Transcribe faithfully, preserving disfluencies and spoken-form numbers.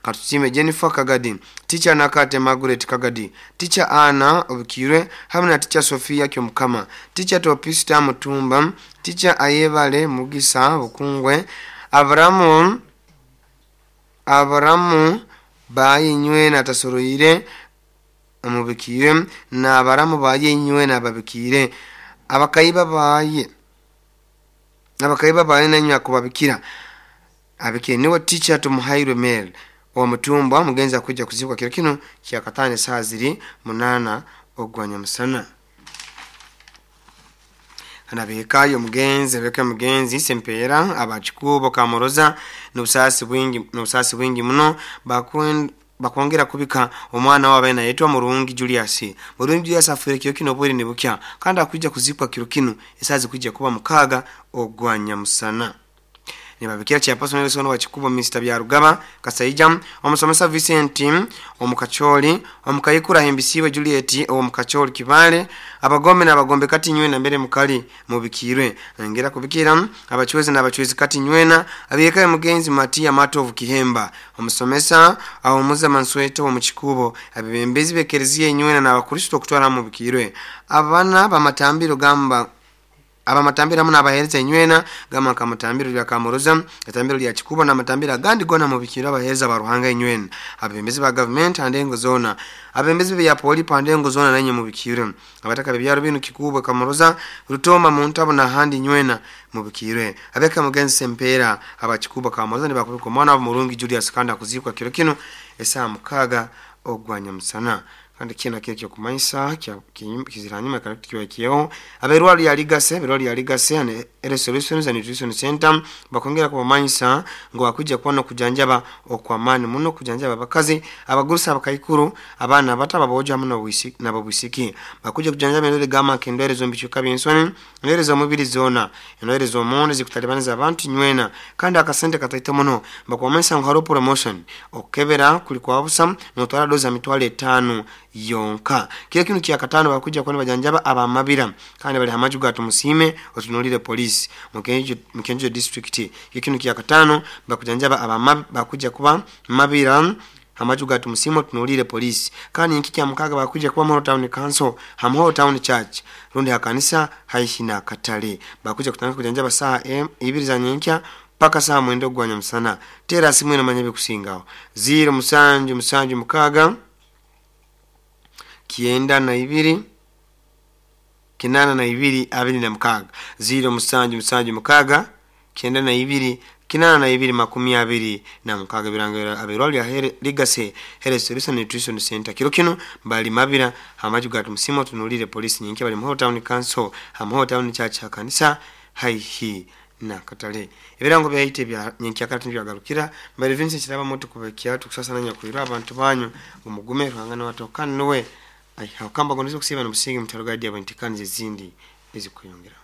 Katusime Jennifer Kagadi, Teacher Nakate Margaret Kagadi, Teacher Anna Obikirwe hamwe na Teacher Sofia Kyomukama, Teacher Topista Mutumba, Teacher Ayebale Mugisa Bukungwe, Aburamu Aburamu bayinywe na tasoroire amubikire na abaramu bayinywe na babikire abakaiba baye abakaiba baye nanywa akubabikira abikire niwe Teacher Tumuhairwe Mel wa Mutumba mugenzi kuja kuzikwa kiro kino kyakatane saa ziri munana ogwanya musana. Anabekayo mugenzi beka mugenzi Sempera abachikubo Kamoroza n'ubusasi bwingi n'ubusasi bwingi muno bakwen bakwongera kubika omwana wabe nayetwa Murungi Julius. Murungi Julius afure kiro kino bweri nibukya kandi akuja kuzikwa kiro kino esazi kuja kuba mukaga ogwanya musana. Nibabikira chairperson Nelson wa Chikubo Mister Byarugaba Kasaija, omusomesa Vincent omukacholi, omukayikura Hembisiwe Juliet omukacholi Kibale, abagombe n'abagombe kati nywena mbere mukali mubikirwe ngera kubikira abachwezi n'abachwezi kati nywena abiyekaye mugenzi Matia Matovu Kihemba, omusomesa awomuza Mansweto omuchikubo, abebembezi bekereziye nywena n'abakristo kutwara mubikirwe abana bamatambiro gamba abamatambira muna abahereza inywena gama kamatambiro lya Kamoroza, atambiro lya Chikubo na matambira gandi gona mubikira abahereza baruhanga inywena, abembezi ba government andengo zona, abembezi bya poli pandengo zona nanye mubikire abataka byaro binu Kikubo Kamoroza Rutoma muntabo na handi nywena mubikire abeka mugenzi Sempera abachikubo Kamoroza nibakubika mwana wa Murungi Julius kanda kuzikwa kiro kino esaa mukaga ogwanya musana. Kandi kina kile kyo kumanyisa kiziranyuma kiwa kiyo aberwali ya Ligase berwali ya Ligase ane Health Solutions and Nutrition Center bakongera kubamanyisa ngo akuja kuona kujanjaba okwamani muno kujanjaba abakazi abagurusa abakaikuru abana bata baboja muno wisiki na babwisiki bakuja kujanjaba endwere gama kendwere zombichuka byensoni endwere zo mubiri zona endwere zo monde zikutalibaniza abantu nywena kandi akasente kataito muno bakwamanyisa ngo haro promotion okebera kulikwa busa notwara doza mitwale etano yonka. Kile kinu kia katano bakuja kwani bajanjaba abamabira kandi bali hamaju gatu musime otunulire polisi mukenjo mukenjo district. Kile kinu kia katano bakujanjaba abamab bakuja kuba mabira hamaju gatu musime otunulire polisi kandi nkiki mukaga bakuja kuba Moro Town Council Hamho Town Church rundi hakanisa haishina katale bakuja kutanga kujanjaba saa ibiri za nyenkya paka saa mwendo gwanya msana. Tera simu ina manyabe kusingao zero musanju musanju mukaga kienda na ibiri kinana na ibiri abiri na mukaga zero musanju musanju mukaga kienda na ibiri kinana na ibiri makumi abiri na mukaga. Birango abirwali ya Ligase Health Solution Nutrition Center kiro kino bali mabira hamaju gatu msimo tunulire polisi nyinki bali Mho Town Council Hamho Town Church kanisa haihi na katale. Ebirango bya bya nyenki akati byagarukira mbere Vincent kiraba moto kubekia tukusasa nanya kuira abantu banyu umugume ruhangana watokana nowe ai hakamba gondizo kusiba no busingi mutaruga dia bantikani zindi ezikuyongera.